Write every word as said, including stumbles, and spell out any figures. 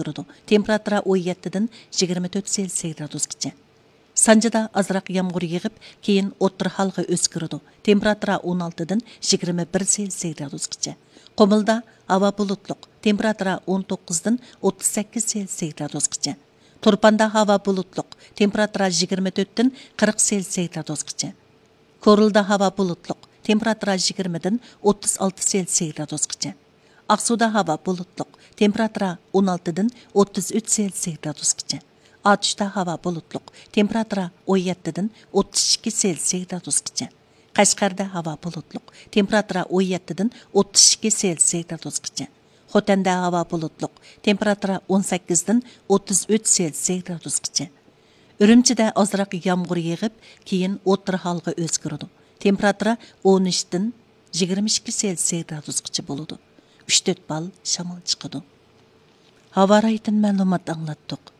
ئۆزگىرىدۇ. تېمپېراتۇرا ئون يەتتىدىن يىگىرمە تۆت سېلسىيە گرادۇسقىچە. سانجىدا ئازراق يامغۇر يېغىپ، كېيىن ئوتتۇرا ھالغا ئۆزگىرىدۇ. تېمپېراتۇرا ئون ئالتىدىن يىگىرمە بىر سېلسىيە گرادۇسقىچە. قۇمۇلدا ھاۋا بۇلۇتلۇق، تېمپېراتۇرا ئون توققۇزدىن ئوتتۇز سەككىز سېلسىيە گرادۇسقىچە. تۇرپاندا ھاۋا بۇلۇتلۇق، تېمپېراتۇرا يىگىرمە تۆتتىن قىرىق سېلسىيە گرادۇسقىچە. كورلىدا ھاۋا بۇلۇتلۇق، تېمپېراتۇرا يىگىرمىدىن ئوتتۇز ئالتە سېلسىيە گرادۇسقىچە. ئاقسۇدا ھاۋا بۇلۇتلۇق، تېمپېراتۇرا ئون ئالتىدىن ئوتتۇز ئۈچ سېلسىيە گرادۇسقىچە. ئاتۇشتا ھاۋا بۇلۇتلۇق، تېمپېراتۇرا ئون يەتتىدىن ئوتتۇز ئىككى سېلسىيە گرادۇسقىچە. قەشقەردە ھاۋا بۇلۇتلۇق، تېمپېراتۇرا ئون يەتتىدىن ئوتتۇز ئىككى سېلسىيە گرادۇسقىچە. خوتەندە ھاۋا بۇلۇتلۇق، تېمپېراتۇرا ئون سەككىزدىن ئوتتۇز ئۈچ سېلسىيە گرادۇسقىچە. ئۈرۈمچىدە ئازراق يامغۇر يېغىپ، كېيىن ئوتتۇرا ھالغا ئۆزگىرىدۇ. تېمپېراتۇرا ئون ئۈچتىن يىگىرمە ئىككى سېلسىيە گرادۇسقىچە بولىدۇ. ئۈچ تۆت بال شامال چىقىدۇ. ھاۋا رايىدىن مەلۇمات ئاڭلاتتۇق.